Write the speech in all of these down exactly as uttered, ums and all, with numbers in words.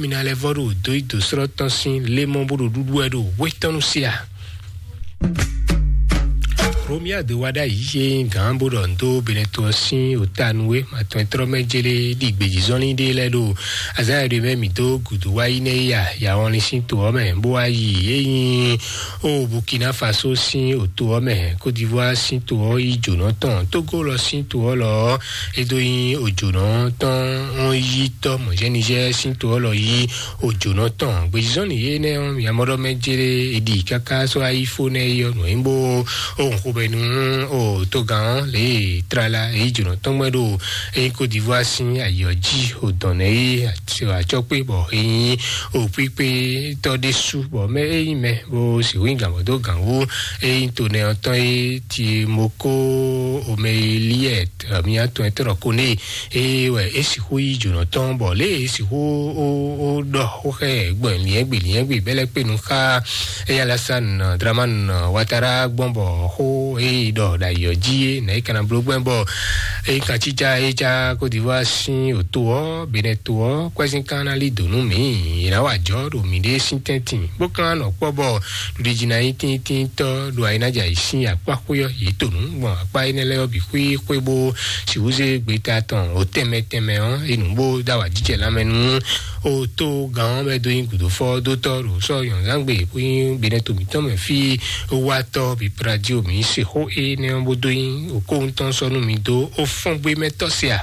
Mi ná lɛ́ vɔ́ ɖo dǒ yi dǒ slɔ́ tɔn sín lémɔ bó ɖo ɖuɖu wɛ ɖo hwetɔ́nu sí a? Romia de wa ɖ'ayǐ yé gǎn bó ɖɔ ndo Benɛto ɔ́ sín ota nú é, ma tɔn e tlɔ́ mɛ jélé ɖi gbějízɔ́nlí ɖé lɛ́ɛ ɖo azǎn e ɖo mɛ mǐ dó gǔdo wá yi nɛ́ yá yawɔnlin sín to ɔ́ mɛ, bó wá yi é nyí o Burkina Faso sín oto ɔ́ mɛ, Côte d'Ivoire sín to ɔ́ yi jǒnɔ tɔn, Togo lɔ sín to ɔ́ lɔ ɔ́, é dó nyí òjònɔ tɔn ɔ́ yí tɔ́ mɔ̌ Niger sín to ɔ́ lɔ yí òjònɔ tɔn. Gbězɔ́nì énɛ́ ɔ́, mǐ mɔ ɖɔ mɛ jéré è ɖi káká sɔ́ ayífó nɛ́ é ɔ́, nǔ e nyí bó ó hun xomɛ nú o togán ɔ́ lě e tlala é yí jǒnɔ tɔn gbɛ́ ɖo é nyí Côte d'Ivoire sín ayǐ ɔ́ jí o dɔn nɛ́ é acɔkpé bɔ é nyí o kpíkpé tɔ́ ɖésú bɔ mɛ é nyí mɛ bó sixú nyí gǎn bɔ dó gǎn wú é nyí to nɛ ɔ́ tɔn é ti moko omeyeliɛ mía tɔn ɛ tɔn ko née. Eye wɛ é sixú yí jǒnɔ tɔn bɔ lě e é sixú ó ó ɖɔ xó xɛ gbɔn liɛ́ngbè liɛ́ngbè bɛ́ lɛ́ kpé nu xá eya Alassane Dramane Ouattara gbɔn bɔ xó e yi ɖɔ ɖo ayǐ ɔ́ jí é nɛ̌ é ka ná bló gbɛn bɔ é ka cí cá é cá Côte d'Ivoire sín òto ɔ́ Benin to ɔ́ kwɛ́zín ka ná lí dǒ nú mǐ. È nǎ wa jɔ̌ ɖo mǐɖée sín tɛ́ntin bó ka nɔ kpɔ́ bɔ ɖuɖijí ná nyí tíntíntɔ́ ɖo ayinájà yě sín akpá xwé ɔ́ yě to nǔ gbɔn akpá énɛ́ lɛ́ɛ ɔ́ bǐ xwíxwé bó sixú zé gbeta tɔn o tɛnmɛ tɛnmɛ ɔ́ é nǔ bó dó awǎjijɛ lanmɛ nú o tó gán ɔ́ bɛ dó nyí gǔdófɔ́ dótɔ́ ɖo sɔ́ nyɔ̌nzángbe bó nyí Benin to mǐtɔn mɛ fí wátɔ́ bǐ Pradio mǐ se xó énɛ́ ɔ́ bó dó nyí okóhun tɔn sɔ́ nú mi dó ó fɔ́n gbé mɛ tɔ́ se a?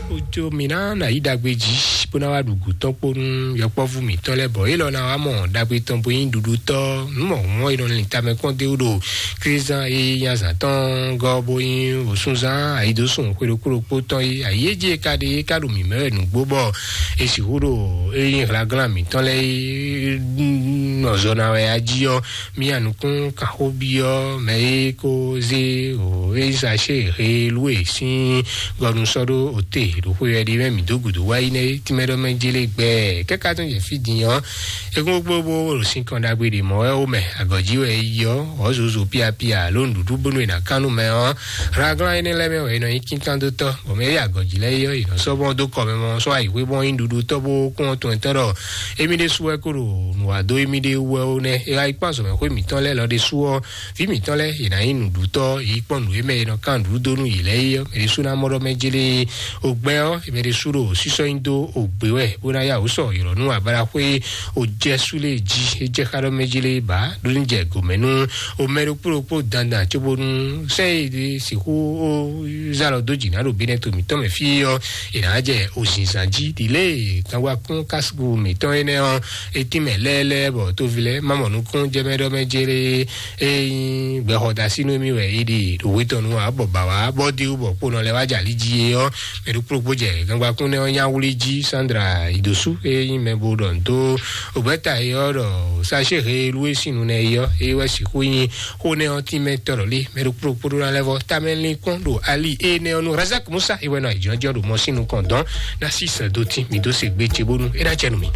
Ojo mǐ ná nǎ yí ɖagbe jí bó ná wá ɖu gǔ tɔn kpó nú yɔkpɔ́vú mǐtɔn lɛ́ɛ bɔ élɔ́ ná wá mɔ ɖagbe tɔn bó nyí ɖuɖutɔ́ nǔ mɔ̌hunmɔ́ e nɔ lin tamɛ kpɔ́n dó ɖo Klízán e nyí azǎn tɔn gɔ́ bó nyí wǒsúnzán ayǐdósùn xwe ɖokpó ɖokpó tɔn é. Ayǐ e jí e ka ɖe é ka ɖo mǐ mɛ wɛ nǔgbó bɔ è sixú ɖo é nyí hlaglán mǐtɔn lɛ́ɛ e nɔ zɔ ná wɛ a jí ɔ́, mía nukún kanxóbyɔ́ mɛ e ko zé o Elisashe he lú e sín gɔnu sɔ́ ɖó ote ɖo xwe wɛ ɖi mɛ mǐ dó gǔdo wá yi nɛ́ tínmɛ ɖɔ mɛ jélé gbɛ kɛ́ka tɔn jɛ fí din ɔ́. Egun gbogbo ɖo sin kɔn ɖagbe ɖe mɔ̌ wɛ wo mɛ agɔ̌jí wɛ yi ɔ́ ɔ̌ zozo piapia ló nǔɖuɖu bónú è nǎ kán nú mɛ ɔ́. Hlaglán énɛ́ lɛ́ɛ mɛ wɛ è nɔ nyí kínkándótɔ́ bɔ mɛ e agɔ̌jí lɛ́ɛ yi ɔ́ è nɔ sɔ́ bɔn dó kɔ mɛ mɔ sɔ́ ayǐhwé bɔn nyí nǔɖuɖutɔ́ bó kún ɔ́ tɔn tɔn ɖɔ émí ɖésú wɛ kó ɖo nǔ wa dó émí ɖé wú wɛ ó nɛ́. É wá yi kpán azɔ̌mɛxwé mǐtɔn lɛ́ɛ lɔ ɖésú ɔ́, vǐ mǐtɔn lɛ́ɛ è nǎ nyí nǔɖutɔ́, yě yi kpɔ́n nǔ e mɛ è nɔ kán nǔɖuɖu dó nú yě lɛ́ɛ é ɔ́, mɛ ɖésú ná mɔ ɖɔ mɛ jélé ogbɛ ɔ́, mɛ ɖésú ɖo sísɔ́ nyi dó ogbě wɛ bó ná yá wǔ sɔ ylɔ̌ nú abalaxwé ojɛsú lé jí é jɛ xá ɖɔ mɛ jélé bǎ ɖó ní jɛ gǒmɛ nú o mɛ ɖokpó ɖokpó dandan cóbónú sɛ́n e ɖe sixú ó zá lɔ dó jǐ ná ɖo Benɛto mǐtɔn mɛ fí ɔ́, è nǎ jɛ ozinzan jí ɖi lě e kanwakún kásíkú mǐtɔn énɛ́ ɔ́, é tín mɛ lɛ́ɛlɛ́ bɔ tóvi lɛ́ɛ má mɔ nukún jɛ mɛ ɖɔ mɛ jélé. Ényí gbɛxɔdasí nú mì wɛ é ɖe ɖo hwetɔnu ǎ bɔ bǎ wá bɔ dé wú bɔ kponɔ lɛ́ wá jɛ ali jí é ɔ́, mɛ ɖokpó ɖokpó jɛ gangbakún nɛ́ ɔ́ nyá wlí jí. Sandra Idosu ényí mɛ bo ɖɔ nǔ dó ògbɛ́ta é ɔ́ ɖɔ sachet he lú é sín nu nɛ́ é ɔ́ é wɛ sixú nyí xó nɛ́ ɔ́ tínmɛ tɔ́ ɖɔ lé. Mɛ ɖokpó ɖokpó ɖó ná lɛ́ vɔ tamɛ linkpɔ́n ɖo ali énɛ́ ɔ́ nú Razak Musa é wɛ nɔ ayǐjínjɔ́n ɖo mɔ sín nukɔn dɔn ná sí sɛn dó tín mǐ dó se gbé ce bónú é ná jɛ nú mì.